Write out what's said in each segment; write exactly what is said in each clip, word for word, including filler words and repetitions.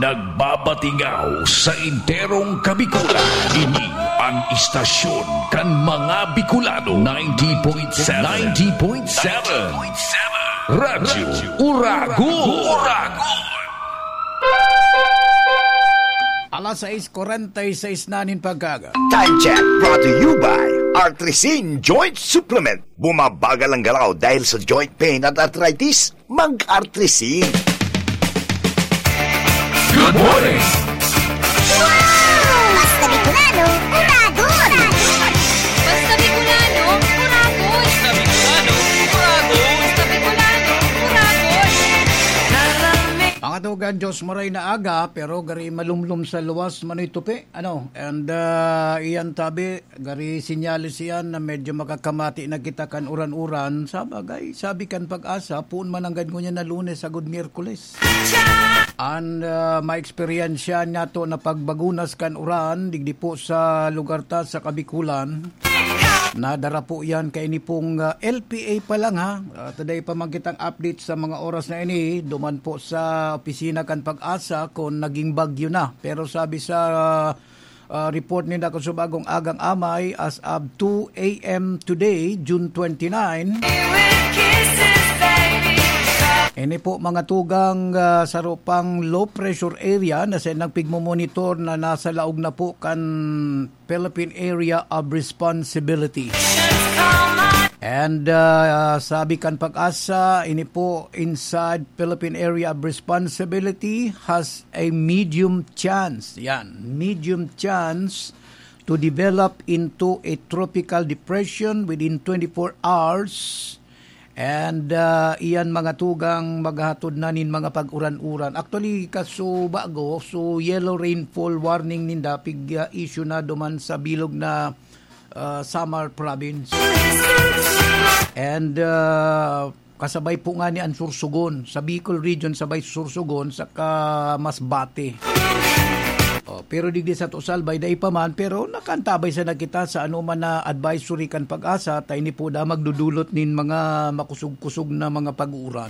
Nagbabatingaw sa enterong Kabikulan. Ini an istasyon kan mga Bicolano. Ninety point seven. Ninety point seven. Radyo Uragon. Alas sais kwarenta y seis na nin pagkaaga. Time check brought to you by Artrisin Joint Supplement. Bumabagal ang galaw dahil sa joint pain at arthritis. Mag-Artrisin. Good morning! Basta Bicolano, Uragon! Basta Bicolano, Uragon! Basta Bicolano, Uragon! Basta Bicolano, Uragon! Mga tugang, Diyos maray na aga, pero gari malumlom sa luwas, manoy tupi. Ano? And uh, iyan tabi, gari sinyalis iyan na medyo makakamati na kita kan uran-uran. Sa bagay, sabi kan pag-asa, puon man ang ngunyan na Lunes, agod Miyerkules. An uh, maeksperiensya niyato na pagbagunas kan uran, digdi po sa lugar ta sa Kabikulan. Nadara po yan kaini pong uh, L P A pa lang ha. Uh, today pa man kitang update sa mga oras na ini. Duman po sa opisina kan pag-asa kung naging bagyo na. Pero sabi sa uh, uh, report ni Dako Subagong Agang Amay, as of two a.m. today, June twenty-nine, ini po mga tugang uh, sa rupang low pressure area na sa nagpigmomonitor na nasa laog na po kan Philippine Area of Responsibility. And uh, sabi kan pag-asa, ini po inside Philippine Area of Responsibility has a medium chance. Yan, medium chance to develop into a tropical depression within twenty-four hours. And uh, iyan mga tugang maghatod na nin mga pag-uran-uran. Actually, kaso bago, so yellow rainfall warning ninda pig uh, issue na duman sa bilog na uh, Samar province. And uh, kasabay po nga ni ang Sursogon, sa Bicol region sabay Sursogon, saka Masbate. Oh, pero digdi sa Tusalbay, dai pa man, pero nakantabay sa nakita sa ano man na advisory kan pag-asa, ta ini po da magdudulot nin mga makusog-kusog na mga pag-uuran.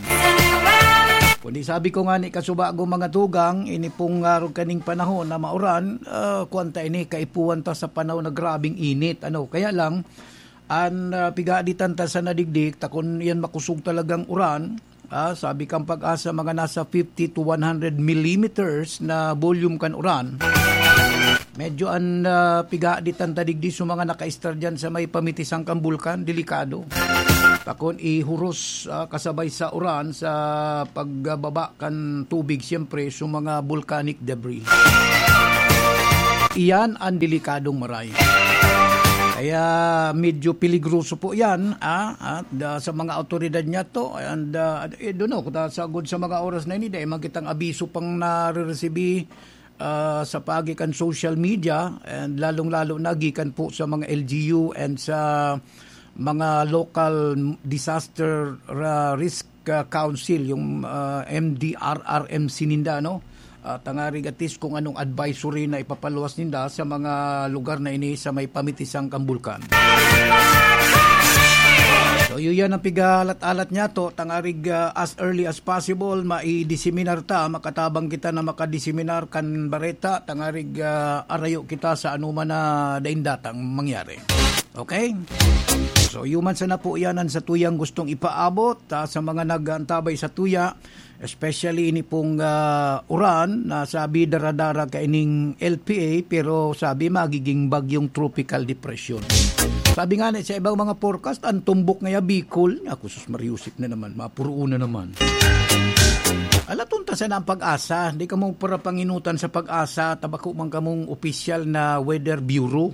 Kundi sabi ko nga ni kasubago mga tugang, ini pong arog kaning panahon na mauran, uh, kuwan ta ini, kaipuhan ta sa panahon na grabing init. Ano, kaya lang, an uh, pigaditan ta sa nadigdik, ta kun yan makusog talagang uran, Ah, sabi kan pag-asa, mga nasa fifty to one hundred millimeters na volume kan uran. Medyo an uh, pigaditan ta digdi sa mga nakaistar dyan sa may pamitisan kan bulkan, delikado. Pakon ihuros uh, kasabay sa uran sa pagbaba kan tubig, siyempre, sa mga volcanic debris. Iyan ang delikadong maray. Kaya medyo peligroso po yan ah, ah, sa mga autoridad niya to. And uh, eh, doon ako, sagod sa mga oras na ini, dahil magkitang abiso pang nariresibi uh, sa pagi kan social media and lalong-lalo na gikan po sa mga L G U and sa mga local disaster uh, risk uh, council, yung uh, M D R R M C ninda, no? Uh, tangarig at least kung anong advisory na ipapaluwas ninda sa mga lugar na ini sa may pamitisang kambulkan. So, yun yan ang pigalat-alat niya to. Tangarig uh, as early as possible, maidiseminar ta, makatabang kita na makadiseminar kan bareta, tangarig uh, arayo kita sa anuman na daindatang mangyari. Okay? So, yuman sana po yan ang sa tuyang gustong ipaabot ta, sa mga nag-aantabay sa tuya, especially ini pong uh, uran na sabi daradara kaining L P A, pero sabi magiging bagyong tropical depression. Sabi nga na sa ibang mga forecast, ang tumbok ngaya Bicol. Ako, sus, Mariusip na naman, mapuruon na naman. Alaton ta sana ang pag-asa. Di ka mo para panginutan sa pag-asa, tabako man kamong opisyal na weather bureau.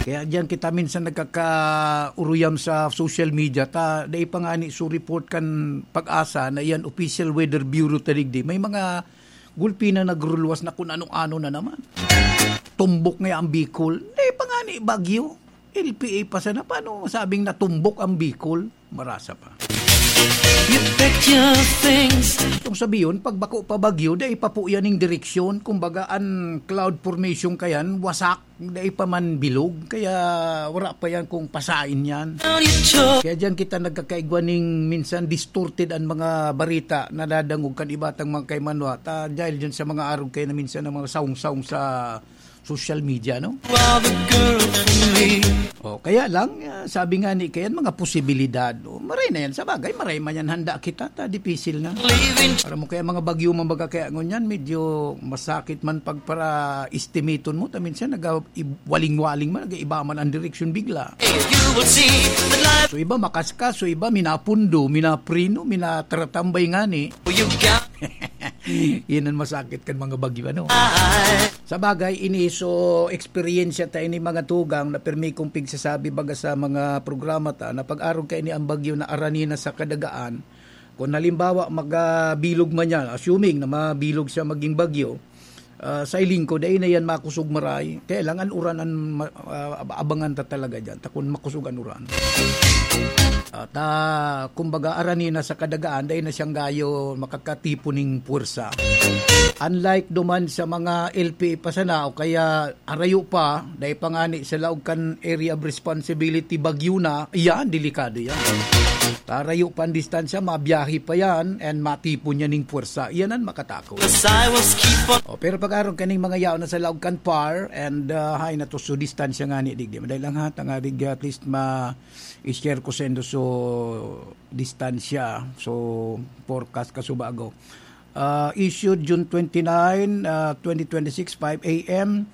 Kaya diyan kita minsan nagkakauruyam sa social media ta, dai pa nga ni so report kan pag-asa na yan official weather bureau ta digdi. May mga gulpi na nagruluwas na kung ano-ano na naman. Tumbok nga ang Bicol. Dai pa nga ni bagyo. L P A pa sana. Paano masabing natumbok ang Bicol? Marasa pa. You packed your things. Itong Sabi yun, pag bako pa bagyo, dai pa po yan yung direksyon. Kumbaga, ang cloud formation kayan, wasak, dai pa man bilog. Kaya wala pa yan kung pasain yan. Kaya diyan kita nagkakaigwa ning minsan distorted ang mga barita na dadangog kan iba tang mga kaimanwa. Ta, dahil dyan sa mga arog kayo na minsan ng mga saung-saung sa social media, no? You are the girl for me. O, kaya lang, ah, sabi nga ni Ken, mga posibilidad. O, maray na yan. Sa bagay, maray man yan. Handa kita, ta, dipisil na. Leaving. Para mo kaya mga bagyo man baga kaya ngunyan, medyo masakit man pag para estimaton mo. Ta minsan, nag-, ib-, waling-waling man, nag-iiba man ang direksyon bigla. You will see that life. So, iba makaskas, so iba minapundo, minaprino, minatratambay nga ni. You got Yan ang masakit kan mga bagyo, ano? Sa bagay, ini so eksperyensya ta ini mga tugang na pirmi kong pigsasabi baga sa mga programa ta na pag-arog ka ini ang bagyo na arani na sa kadagaan. Kung halimbawa, magabilog man yan, assuming na mabilog siya maging bagyo, ah, sa iling ko, dai na yan makusog maray. Kaya lang, ang uran ang ma-, ah, ab-, abangan ta talaga dyan, ta kung makusog ang uran. At, ah, kumbaga, arani na sa kadagaan, dai na siyang gayo makakatipon ning puwersa. Unlike duman sa mga L P A pa sana o kaya arayo pa, dai pa ngani sa laog kan area of responsibility, bagyo na, iyan, delikado yan. Tarayo pa ang distansya, mabiyahe pa yan, and matipon yan ning puwersa. Iyan ang makatakot. Cause I was keep on O, pero pag-arog kaning mga yaon na sa laog kan par, and, ah, hay na to, so distansya ngani, digdi. Madali lang ha, tangarig at least ma- i-share ko sa indo so distansya, so forecast ka subago. Ah, issued June twenty-nine, ah, twenty twenty-six, five a m.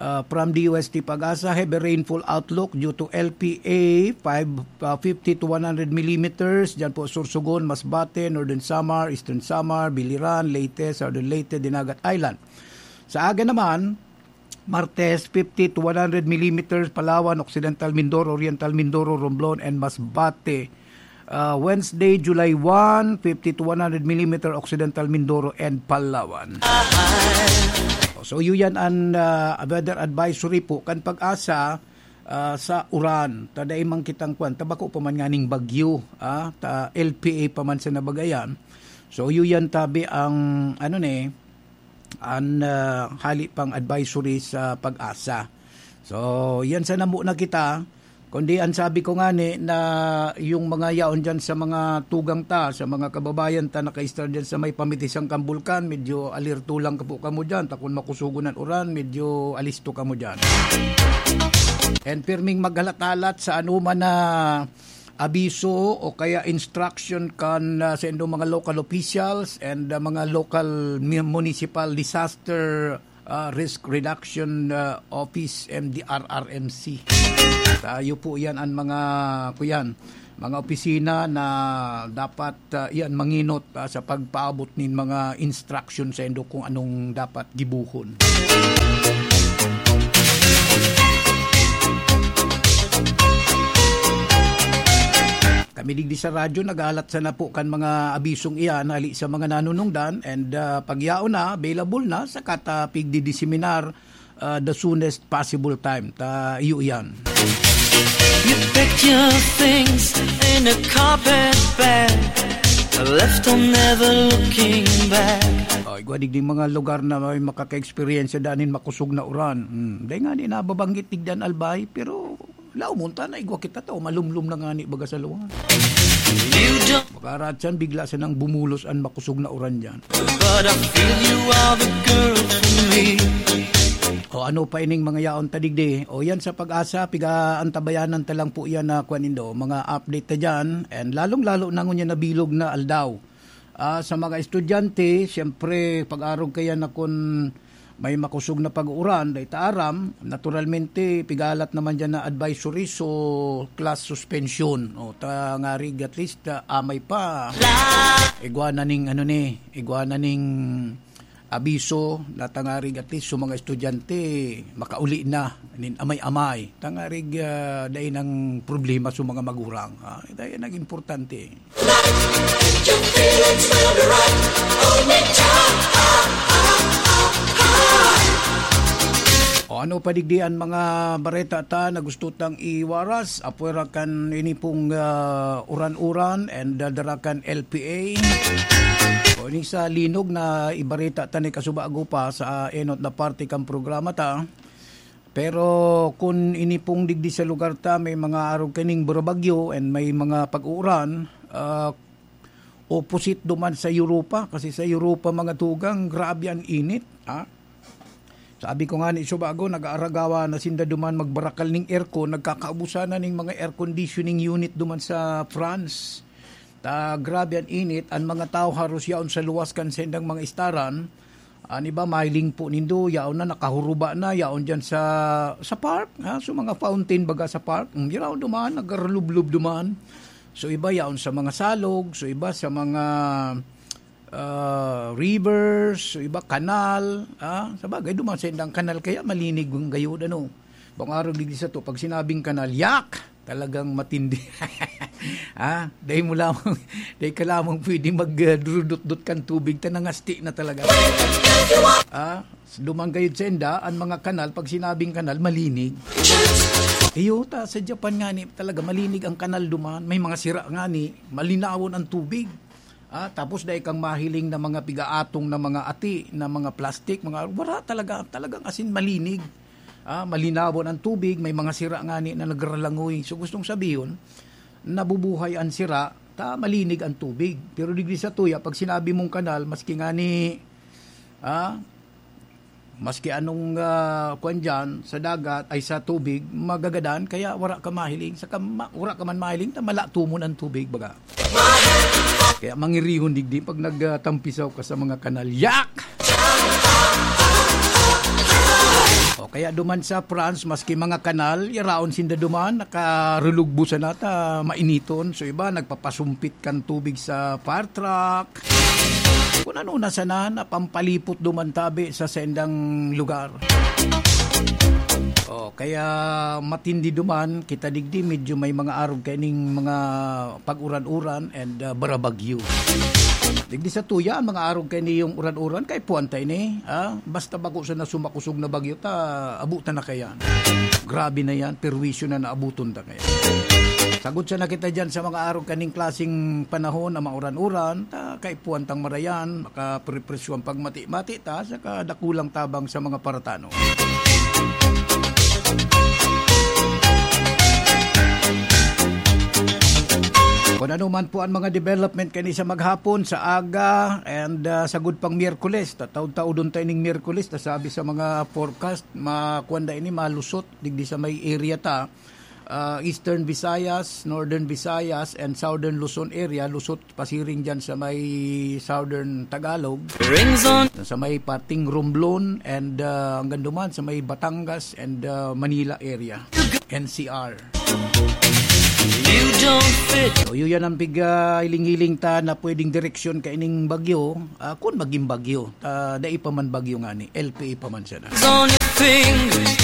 Ah, from D O S T PAGASA, heavy rainfall outlook due to L P A, five, ah, fifty to one hundred millimeters. Diyan po, Sorsogon, Masbate, Northern Samar, Eastern Samar, Biliran, Leyte, Southern Leyte, Dinagat Island. Sa aga naman, Martes, fifty to one hundred millimeters, Palawan, Occidental Mindoro, Oriental Mindoro, Romblon, and Masbate. Ah, Wednesday, July one, fifty to one hundred millimeter, Occidental Mindoro and Palawan. So, yun yan ang, ah, weather advisory po kan PAGASA, ah, sa uran. Ta dai man kitang kwan, ta bako pa man nganing bagyo, ah, ta L P A pa man sa nabagayan. So, yun yan tabi ang, ano ni, an, ah, hali pang advisory sa PAGASA. So, yan sana muna kita. Kundi ang sabi ko ngani na yung mga yaon dyan sa mga tugang ta, sa mga kababayan ta naka-istar dyan sa may pamitisang kan bulkan, medyo alerto lang ka po kamo dyan. Ta kun makusugon an uran, medyo alisto kamo dyan. And pirming maghalat-halat sa anuman na abiso o kaya instruction kan, ah, sa indong mga local officials and, ah, mga local mi-, municipal disaster, ah, risk reduction, ah, office, M D R R M C. Tayo po yan ang mga, kuyan, mga opisina na dapat, ah, yan manginot, ah, sa pagpaabot nin mga instruction sa indo kung anong dapat gibuhon. Kami digdi sa radyo, nagalat sana po kan mga abisong iyan, hali sa mga nanunungdan, and, ah, pagyaon na, available na, sa kata pigdidiseminar, ah, the soonest possible time. Ta, iyo iyan. You packed your things in a carpet bag, left on never looking back. Oh, igwa digdi mga lugar na may makaka-eksperyensya danin makusog na uran. Hmm, dai nga di nababanggit digdan albay, pero laomon ta na igwa kita ta, malumlom na nga ni baga sa luwan. You don't Baka ratsan, bigla sanang bumulos an makusog na uran diyan. But I feel you are the girl for me. O ano pa ining mga yaon ta digdi? O yan sa PAGASA, piga-antabayanan ta lang po yan na kwan nindo, mga update ta dyan. And lalong-lalo na ngunyan na bilog na aldaw. Ah, sa mga estudyante, siyempre, pag-arog kaya na kun may makusog na pag-uuran, dai ta aram, naturalmente, pigalat naman dyan na advisory, so class suspension. O, ta ngarig, at least, ah, amay pa. Igwa na ning, ano ni, igwa na ning abiso na tangarig, at least, so mga estudyante, makauli na, nin amay-amay. Tangarig, ah, dai nang problema sa mga magurang. Ah, dai nang importante. Your feelings will be right. Hold me tight. Ah, ah, ah, ah. Ano pa digdi an mga bareta ta na gusto tang iwaras? Apwera kan ini pong, ah, uran-uran and, ah, dara kan L P A. O ini sa linog na ibareta ta ni kasubago pa sa enot na parte kan programa ta. Pero kun ini pong digdi sa lugar ta, may mga arog kaning burabagyo and may mga pag-uuran, ah, opposite duman sa Europa. Kasi sa Europa, mga tugang, grabe ang init, ha? Sabi ko nga ni Subago, nag-aaragawa na sinda duman magbarakal ning aircon, nagkakaubusan na ning mga air conditioning unit duman sa France. Ta, grabe ang init, ang mga tao haros yaon sa luwas kan sendang mga istaran. An iba, mahiling po nindo, yaon na, nakahuruba na, yaon dyan sa, sa park, ha? So, mga fountain baga sa park, mm, yaon duman, nagarulublob duman. So, iba yaon sa mga salog, so, iba sa mga, ah, rivers, so, iba kanal, ah, sa bagay, duman sa indang kanal, kaya malinig ang gayod, ano. Bang araw digdi sa to, pag sinabing kanal, yak! Talagang matindi. Ah, dahil mo lamang, dahil ka lamang pwede mag, ah, durudot-dot kan tubig, ta nangasti na talaga. Ah, duman gayod sa enda, ang mga kanal, pag sinabing kanal, malinig. Iyo, ta, sa Japan nga ni, talaga, malinig ang kanal duman. May mga sira nga ni, malinawon ang tubig. Ah, tapos dai kang mahiling na mga pigaatong na mga ati, na mga plastic, mga, wala talaga, talagang asin malinig. Ah, malinawon ang tubig, may mga sira nga ni na nagralangoy. So, gustong sabihon, nabubuhay ang sira, ta malinig ang tubig. Pero digdi sa tuya, pag sinabi mong kanal, maski nga ni, ah, maski anong, ah, kwan dyan, sa dagat, ay sa tubig, magagadan, kaya wala ka mahiling. Saka ma-, wala ka man mahiling, ta malatumon ang tubig, baga. Kaya mangirihon digdi pag nagtampisaw ka sa mga kanal. Yak! O kaya duman sa France, maski mga kanal, yaraon sinda duman, nakarulugbo sana ta mainiton. So iba, nagpapasumpit kan tubig sa fire truck. Kung ano na sana, napampalipot duman tabi sa sendang lugar. O, kaya matindi duman, kita digdi, medyo may mga arog kaining mga pag-uran-uran and, ah, barabagyo. Digdi sa tuya, ang mga arog kaini yung uran-uran, kay puwan ta ini, ah. Basta bako sa nasumakusog na bagyo ta, abutan na kayan. Grabe na yan, perwisyo na naabuton ta kayan. Sagot siya na kita dyan sa mga arog kaning klaseng panahon na mauran-uran, ta kay puwan tang marayan, makaprepresyo ang pagmati-mati ta, saka dakulang tabang sa mga paratano. Kung ano man po ang mga development kani sa maghapon, sa aga, and, ah, sagod pang Miyerkules, tataod-taodon tayo ning Miyerkules, nasabi sa mga forecast, makuan da ini, malusot, digdi sa may area ta, ah, Eastern Visayas, Northern Visayas, and Southern Luzon area, lusot pasiring dyan sa may Southern Tagalog, Rings on. Sa may parting Romblon, and, ah, hanggang duman sa may Batangas and, ah, Manila area, N C R. You don't fit. So, yun yan ang piga hiling-hiling ta na pwedeng direksyon kaining bagyo, ah, kung maging bagyo. Ah, dai pa man bagyo nga ni, L P A pa man siya na. Rings on your fingers,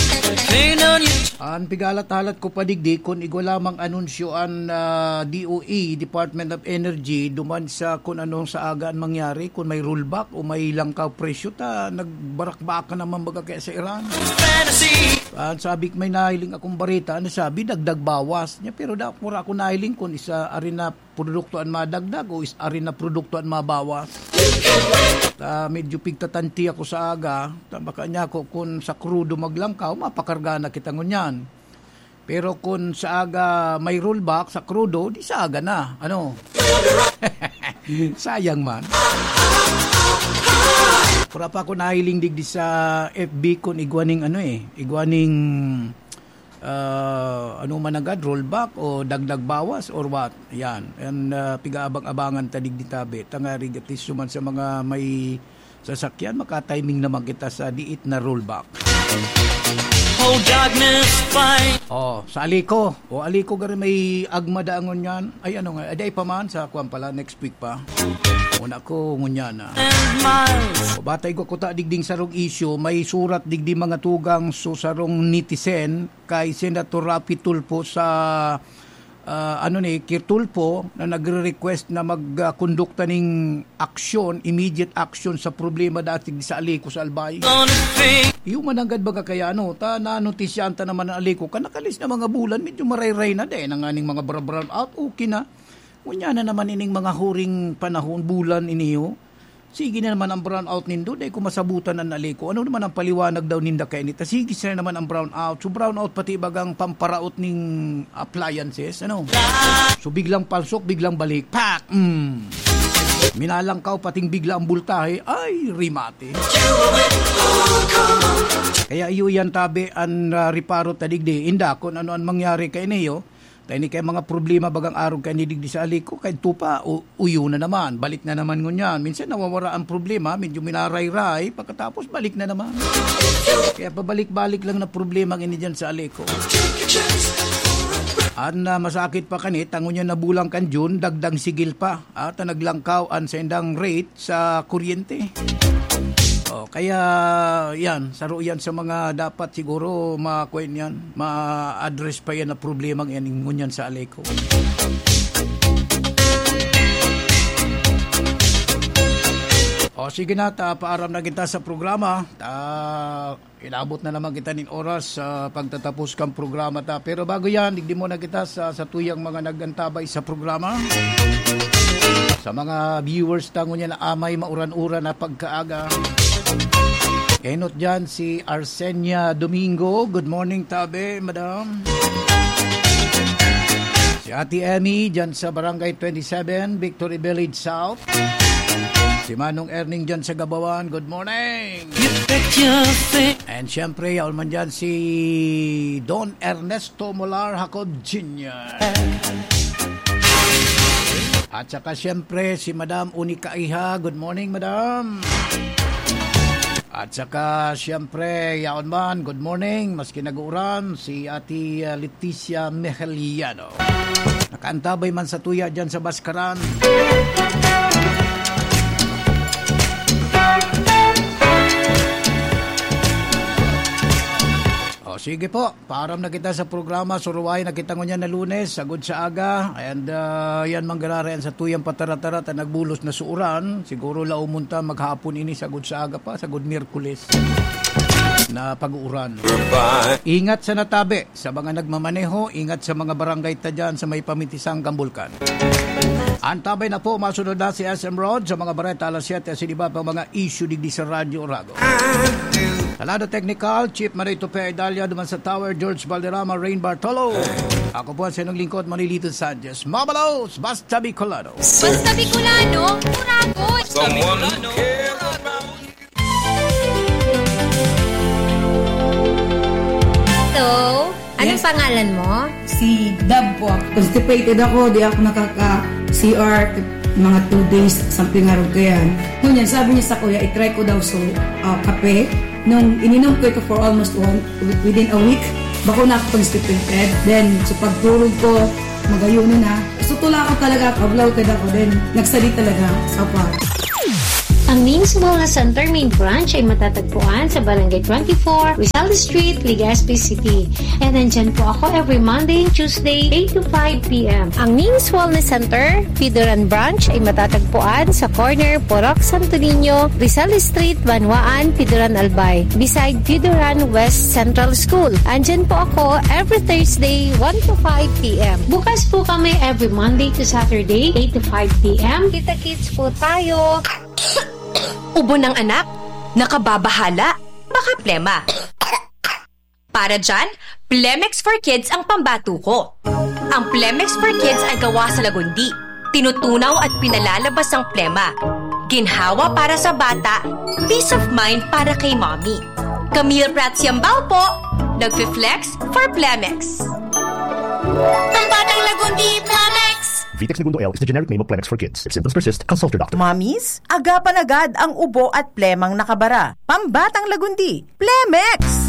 paint on your An pigahalat-halat ko pa digdi, kun igwa lamang anunsyo an, ah, D O E, Department of Energy, duman sa kun anong sa aga an mangyari, kun may rollback o may langkaw presyo, ta nagbarakbakan naman baga kaya sa Iran. Fantasy. An sabi, may nahiling akong bareta, ano sabi, dagdag bawas niya, pero da-, wala akong nahiling kun isa ari na produkto an madagdag o is-, ari na produkto an mabawas. Ta medyo pigtatanti ako sa aga, ta baka niya ako kun sa krudo maglangkaw, mapakarga na kita ngunyan. Pero kun sa aga may rollback sa krudo, di sa aga na. Ano? Sayang man. Wala pa ako nahiling digdi sa F B kun igwa ning ano eh, igwa ning ah, ano man agad, rollback o dagdag bawas or what? Yan. And, ah, pigaabang-abangan ta digdi tabi. Tangari gatis man sa mga may sasakyan, makatiming naman kita sa diit na rollback. Oh, darkness, fight. Oh, sa Aliko. O Aliko, gari may agma daangon yan. Ay, ano nga, aday pa man sa kuwan pala, next week pa. Una ko, ngunya na. And miles. O batay ko kuta digding sarong issue, may surat digdi mga tugang so sarong netizen, kay Senator Raffy Tulfo sa, ah, ano ni, Kirtulfo na nagre-request na magkondukta ning aksyon, immediate action sa problema dati sa Aleco sa Albay. Iyo man nanggad baga kaya, ano, ta nanotisyahan ta naman ang Aleco. Kan nakalis na mga bulan, medyo marayray na, dai na nganing mga bra-, brown out, okay na. Ngunyan na naman ining mga huring panahon, bulan iniyo. Sige na naman ang brown out nindo, dai ko masabutan an Aleco. Ano naman ang paliwanag daw ninda kaini ta sige sila naman ang brown out. So, brown out pati bagang pamparaot ning appliances, ano? So, biglang palsok, biglang balik. Pak! Mm. Minalangkaw pating bigla ang bultahe. Ay, rimate. Kaya iyo yan, tabi, an, ah, reparo ta digdi. Inda, kung ano ang mangyari kaini, oh. Tayo ni kay mga problema bagang arog kaini digdi sa Aleco, kay tupa, u-, uyo na naman, balik na naman ngunyan. Minsan nawawara ang problema, medyo minarayray, pagkatapos balik na naman. Kaya pabalik-balik lang na problema ang ini dyan sa Aleco. An, ah, masakit pa kanit, ang ngunyan na bulang kan June, dagdang sigil pa. At ang naglangkaw an saindang rate sa kuryente. Oh, kaya yan, saro yan sa mga dapat siguro ma-, kuwan yan, ma-address pa yan na problema yan, ngunyan sa Aleco. O sige na, ta, paaram na kita sa programa. Ta, inabot na naman kita nin oras sa pagtatapos kang programa ta. Pero bago yan, digdi muna kita sa, sa tuyang mga nagantabay sa programa. Sa mga viewers ta ngunyan na amay mauran-uran na pagkaaga. Enot dyan si Arsenia Domingo. Good morning, tabi, madam. Si Ate Emmy dyan sa Barangay twenty-seven, Victory Village South. Si Manong Erning dyan sa Gabawan. Good morning. And syempre, yaon man dyan si Don Ernesto Molar Jacob Junior At saka syempre, si Madam Unica Iha. Good morning, Madam. At saka syempre, yaon man, good morning. Maski nag-uuran, si Ate, ah, Leticia Mejeliano. Nakaantabay man sa tuya dyan sa Baskaran. O, sige po. Paaram na kita sa programa. Suruway na kita ngunyan na Lunes, sagod sa aga. And, ah, yan manggararay an satuyang patara-tara ta nagbulos na sa uran. Siguro laumon ta maghapon ini, sagod sa aga pa, sagod Miyerkules na pag-uuran. Ingat sa natabi, sa mga nagmamaneho, ingat sa mga barangay ta dyan sa may pamitisang Gambulkan. Antabay na po, masunod na si S M Rod sa mga bareta alas siyete, asin iba pa mga issue digdi sa Radyo Oragon. Talado Technical, Chief Marie Tope Idalia, duman sa Tower, George Valderrama, Rain Bartolo. Ako po ang sinong lingkod, Manilito Sanchez. Mabalos, basta Bicolano. Basta Bicolano, Uragon. Someone who cares about you. Hello, anong Yes. pangalan mo? Si Dab po. Constipated ako, di ako nakaka-C R, mga two days, something around kayan. Ngunyan, sabi niya sa kuya, i-try ko daw so, ah, kape. Nung ininom ko ito for almost one, within a week, bako na ako constipated. Then, sa pagtulog ko, magayuno na. So, tula ko talaga, kablaw ka ako. Then, nagsali talaga sa pa. Ang Mings Wellness Center main branch ay matatagpuan sa Barangay twenty-four, Rizal Street, Legazpi City. And nandyan po ako every Monday and Tuesday, eight to five p m. Ang Mings Wellness Center, Pidoran Branch, ay matatagpuan sa corner Purok Santo Niño, Rizal Street, Banwaan, Pidoran, Albay, beside Pidoran West Central School. Andyan po ako every Thursday, one to five p m. Bukas po kami every Monday to Saturday, eight to five p m. Kita-kits po tayo. Ubo ng anak? Nakababahala? Baka plema. Para dyan, Plemex for Kids ang pambato ko. Ang Plemex for Kids ay gawa sa lagundi. Tinutunaw at pinalalabas ang plema. Ginhawa para sa bata, peace of mind para kay mommy. Camille Prats Yambao po, nagfi-flex for Plemex. Pambatang Lagundi, Plemex! Vitex Negundo L is the generic name of Plemex for Kids. If symptoms persist, consult your doctor. Mommies, agapan agad ang ubo at plemang nakabara. Pambatang Lagundi, Plemex!